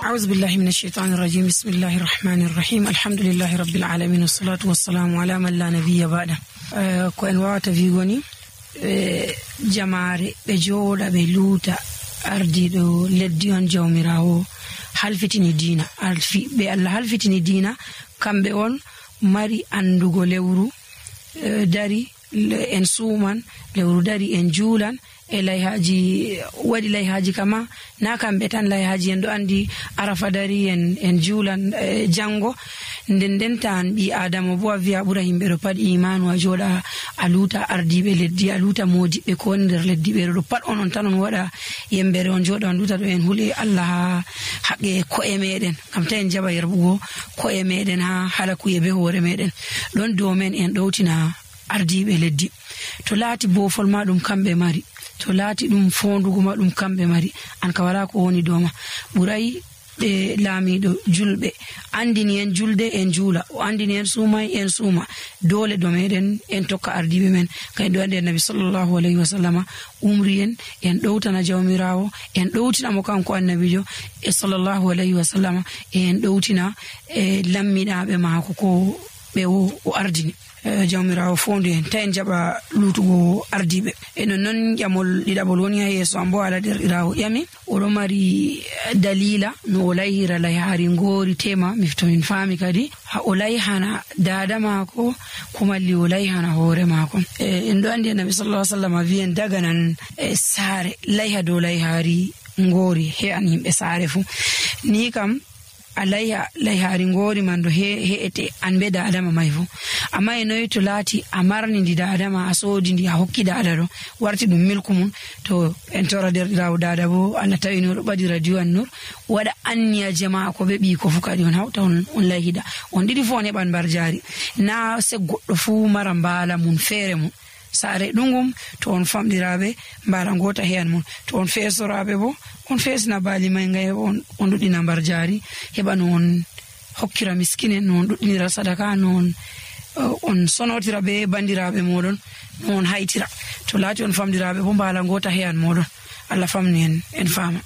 أعوذ بالله من الشيطان الرجيم بسم الله الرحمن الرحيم الحمد لله رب العالمين والصلاة والسلام على من لا نبي بعده ko en wawata wigoni jamaare ɓe jooɗa ɓe luuta ardiɗo leddi on jawmirawo halfitini diina ɓe Allah halfitini diina kamɓe on mari andugo lewru dari en suuman lewru dari en juulan e layhaji waɗi layhaji kama na kamɓe tan layhaji en ɗo andi arafa dari en juulan jango nden tan ɓi adama bo a wiya ɓura himɓe ɗo pat imanu a jooɗa a luuta ardiɓe leddi a luuta modiɓɓe ko woni nder leddi ɓe ɗo pat on tan on waɗa yembere on jooɗa on luuta ɗo en huule Allah ha haqqe ko'e meɗen kam ta en jaɓa yerɓugo ko'e meɗen ha halakuye be hoore meɗen ɗon dow men en ɗowtina ardiɓe leddi to laati bofol ma ɗum kamɓe mari to laati ɗum fondugo ma ɗum kamɓe mari an ka wala ko woni dow ma ɓuray ɓe laamiɗo julɓe andini en julde en juula o andini en suumai en suuma dole do meɗen en tokka ardiɓe men kay ɗo andi annabi sallallahu alayhi wa sallama umri en ɗowtana jawmirawo en ɗowtina mo kanko annabijo e sallallahu alayhi wa sallama en ɗowtina e lammiɗaɓe maako ko ɓe o ardini jawmirawo fondu en ta en jaɓa luutugo ardiɓe e non ƴamol ɗiɗaɓol woni ha yeeso am bo ala derɗirawo ƴami oɗo mari dalila no o layhira layhari ngoori tema miftomin faami kadi ha o layhana dada maako ko malli o layhana hoore maako en ɗo andi annabi sallallahu alaihi wasallam wiyen daganan saare layha dow layhari ngoori he an yimɓe saare fu ni kam a layhari ngoori man do he'ete an be dadama may fu amma e noyi to laati a marni ndi dadama a soodi ndi a hokki dada ɗo warti ɗum milku mum to en tora derɗirawo dada bo Allah tawini oɗo ɓadi radio an nur waɗa anniya jama'a ko ɓe ɓii ko fu kadi on hawta on layhida on ɗiɗi fu on heɓan mbar jaari na se goɗɗo fu mara mbaala mum feere mum saare ɗungum to on famɗiraɓe mbala ngota heyan mum to on feesoraɓe bo on feesna baali may ngay on ɗuɗɗina mbar jaari heɓa no on hokkira miskinen no on ɗuɗɗinira sadaka no on sonotira be bandiraɓe moɗon no on haytira to laati on famɗiraɓe bo mbala ngota heyan moɗon Allah famni en faama.